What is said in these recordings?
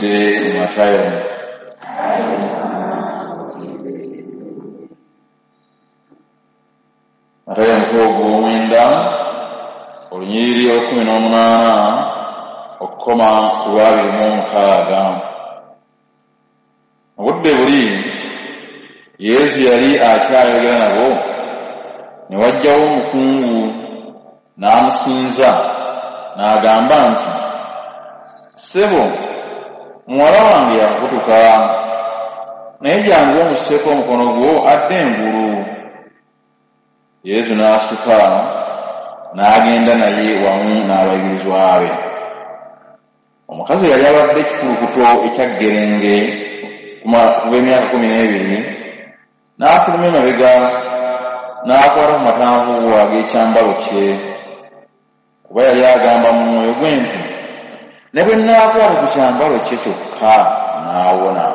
Tuyingidde mu Matayo. Matayo omutwe ogw'omwenda, olunyiriri olw'e18 okukoma ku lw'26. Mu budde buli Yesu yali akyayogera nabo, ne wajjawo omukungu n'amusinza n'agamba nti, "Ssebo, muwala wange yakukutuka, naye jangu omusseeko omukono gwo adde engulu." Yesu n'asituka n'agenda naye wamu n'abayigirizwa be. Omukazi yali abadde ekikulukuto ekya ggerenge kuva emyaka 12, n'afuluma emabega n'akwata ku matanvu ag'ekyambalo kye, kuba yali agamba mu mwoyo gwe nti, "Ne bwe nnaakwata ku kyambalo kye kyokka n'awona."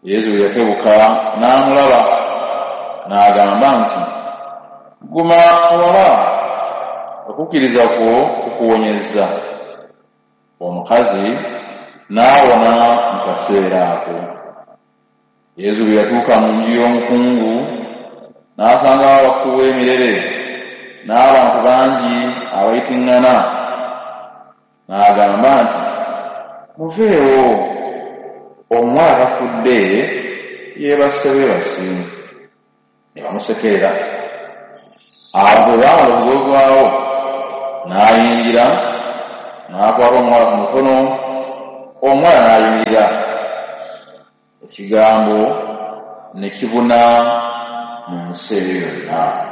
Yesu bwe yakebuka n'amulaba, n'agamba nti, "Guma muwala, okukkiriza kwo kukuwonyezza." Omukazi n'awona mu kaseera ako. Yesu bwe yatuuka mu nju y'omukungu, n'asangawo abafuuwa emirere n'abantu bangi abayitiŋŋana, n'agamba nti, "Muveewo, omuwala tafudde, yeebase bwebasi." Ne bamusekerera. Abantu bwe baamala okugobwawo, n'ayingira, n'akwata omuwala ku mukono, omuwala n'ayimirira. Ekigambo ne kibuna mu nsi eyo yonna.